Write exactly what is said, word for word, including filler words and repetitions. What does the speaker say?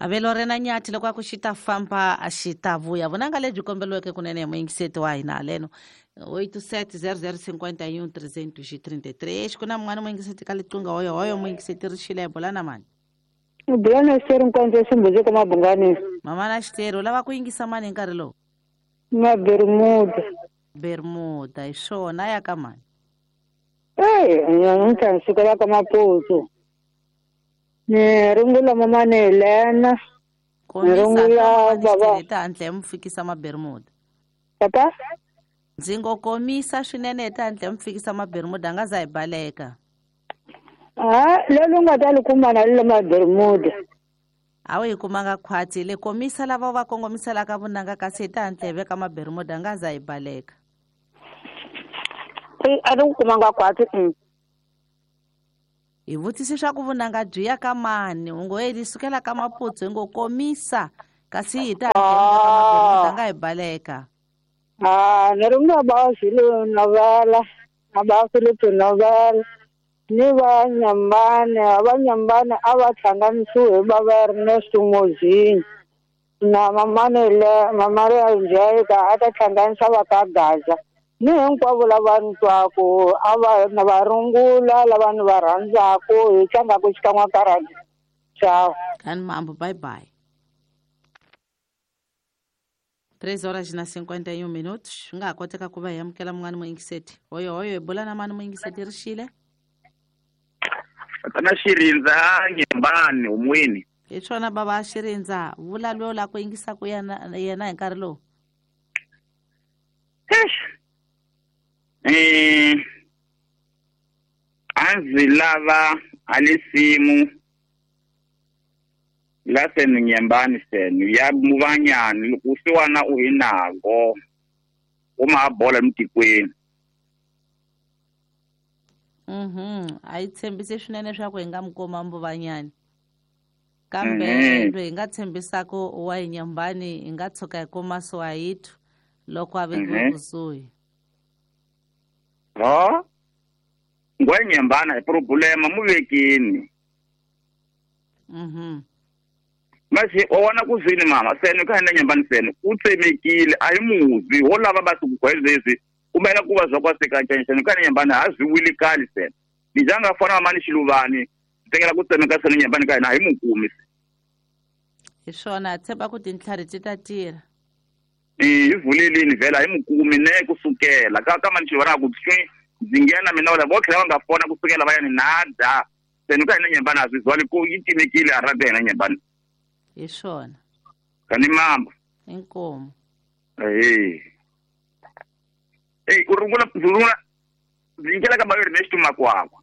Avelo rena nyathi loko a ku xi ta famba a xi ta vuya vunanga lebyi kombeliweke kunene hi muyingiseti wa hina haleno oito sete zero zero cinquenta e um trezentos e trinta e três ku na mun'wana muyingiseti ka liqingho hoyo hoyo muyingiseti ri xile hi bula na mani bula na xiteri nkondzo ximbuzi ka mabungani mama na xiteri u lava ku yingisa mani hi nkarhi lowu na bermuda bermuda hi swona ya ka mani e namuntlha ni sukela ka Maputsu ni rungula mamani Helena ni rungula baba hi ta handle hi mu fikisa mabermuda papa ndzi ngo komisa swinene hi ta handle hi mu fikisa mabermuda a nga za hi baleka a lolu nga ta li kuma na lilo mabermuda a wu hi kumanga khwatsi le komisa lava va kongomiselaka vunanga kasi hi ta handle hi veka mabermuda a nga za hi baleka a ni ku kumanga khwatsi hi vutisi swa ku vunanga byi ya ka mani u ngo yi sukela ka Maputsu hi ngo komisa kasi hi ta handle mabermuda nga hi baleka a ni rungula ba Zulu novela na ba Philip novela ni va Nyambane va Nyambane a va hlanganisiwe hi va va Ernesto Mozini na mamane le Mamaria Njeka a ta hlanganisa va ka Gaza ni hinkwavo lava ni twaku a va na va rungula lava ni va rhandzaku hi tlangaku xikan'we ka radio ciao kani mambo bye bye três horas na cinquenta e um minutos swi nga ha koteka ku va hi amukela mun'wana muyingiseti hoyo hoyo hi bula na mani muyingiseti ri xile tana Xirindza Nyembani humweni hi swona bava Xirindza vula loyi la ku yingisaku yena yena hi nkarhi lowu eh a ndzi lava alisimu la senu Nyembani senu ya muvanyani loko siwana u hi nago u ma bola emitikweni mhm a yi tshembisi swinene swa ku hi nga mi kuma Mbuvanyani kambe loyi hi nga tshembisaku wa hi Nyembani hi nga tshuka hi kuma Swahithu loko a vekiwe kusuhi ha ngwe Nyembani hi problema mu vekini mhm mase wa vona ku zwini mama senu ka hina Nyembani senu u tsemekile a hi muzi ho lava va ku gwezezi kumela ku va zwa kwa seka ka Nyembani ha zwi wili kali sena ni janga fana mama ni Xiluvani tekela ku tsemeka senu Nyembani ka hina hi mukumi hi swona tshemba ku tintlhari ti ta tirha eh hi vulelini vhela hi mukumi ne kusukela ka ka mani Xiluvani ku tswi ndzi nghena mina wala vo tlhela va nga fona kusukela va ya ni nada senu ka hina Nyembani a swi zwali ku yi timekile a rada hina Nyembani hi swona kani mamba inkomo eh Ei, u rungula rungula ndzi nyikela ka ba Ernesto Makwakwa